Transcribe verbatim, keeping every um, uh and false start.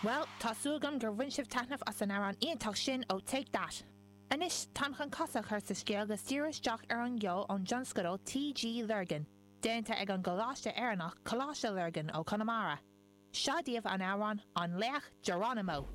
Well, tá súil agam gur bhain sibh taitneamh as an amhrán iontach sin ó Take That. Anois táim chun cosa a chur sa scéal agus díriú isteach ar an gceol ón dtionscadal TG Lurgan, déanta ag an gColáiste Éireannach Coláiste Lurgan ó Conamara. Seo daoibh an amhrán an Laoch Geronimo.